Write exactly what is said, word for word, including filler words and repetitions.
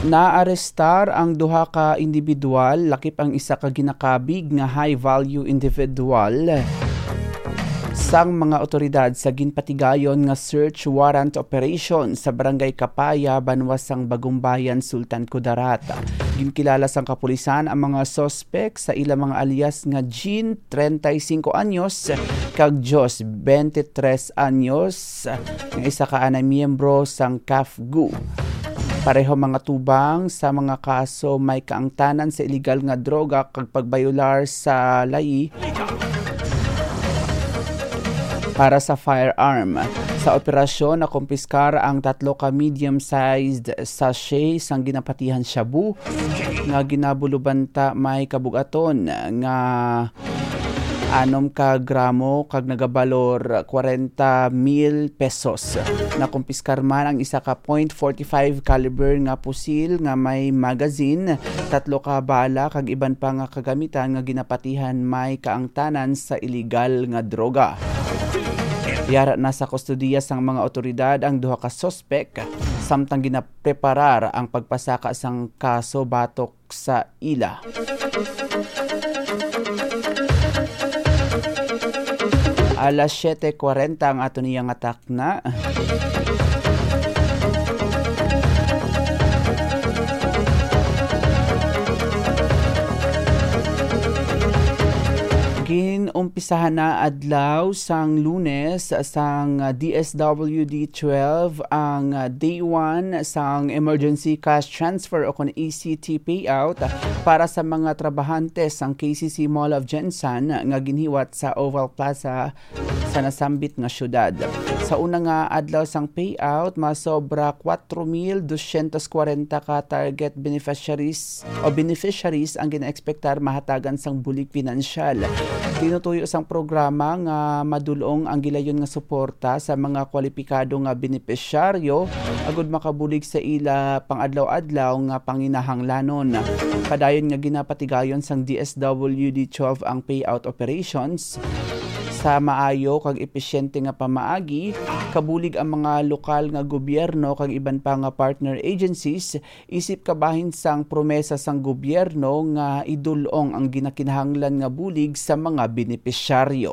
Naarestar ang duha ka individual, lakip ang isa ka ginakabig nga high-value individual, sang mga otoridad sa ginpatigayon nga search warrant operation sa Barangay Kapaya, banwa sang Bagumbayan, Sultan Kudarat. Ginkilala sang kapulisan ang mga suspek sa ila mga alias nga Jean, treinta y cinco anyos, kag Jos, twenty-tres anyos, nga isa ka anay miyembro sang CAFGU. Pareho mga tubang sa mga kaso may kaangtanan sa iligal nga droga kag pagbayolar sa layi para sa firearm. Sa operasyon, nakumpiskar ang tatlo ka medium-sized sachet sang ginapatihan shabu nga ginabulubanta may kabugaton nga anom ka gramo kag nagabalor kwarenta mil pesos. Nakumpiskar man ang isa ka point forty-five caliber nga pusil nga may magazine, tatlo ka bala kag iban pa nga kagamitan nga ginapatihan may kaangtanan sa iligal nga droga. Yara na sa kustodiya sang mga otoridad ang duha ka suspek, samtang ginapreparar ang pagpasaka sang kaso batok sa ila. Alas siete kwarenta ang ato niya nga takna. Ginumpisahan na adlaw sang Lunes sang D S W D twelve ang day one sang emergency cash transfer o kon E C T payout para sa mga trabahante sang K C C Mall of Gensan nga ginhiwat sa Oval Plaza sa nasambit nga syudad. Sa una nga adlaw sang payout, masobra kwatro mil dosyentos kwarenta ka target beneficiaries o beneficiaries ang ginaekspektar mahatagan sang bulig pinansyal. Tinutuyo sang programa nga madulong ang gilayon nga suporta sa mga kwalipikado nga benepisyaryo agud makabulig sa ila pang-adlaw-adlaw nga panginahanglanon. Padayon nga ginapatigayon sang D S W D twelve ang payout operations sa maayo kag episyente nga pamaagi, kabulig ang mga lokal nga gobyerno kag iban pa nga partner agencies, isip kabahin sang promesa sang gobyerno nga idul-ong ang ginakinahanglan nga bulig sa mga benepisyaryo.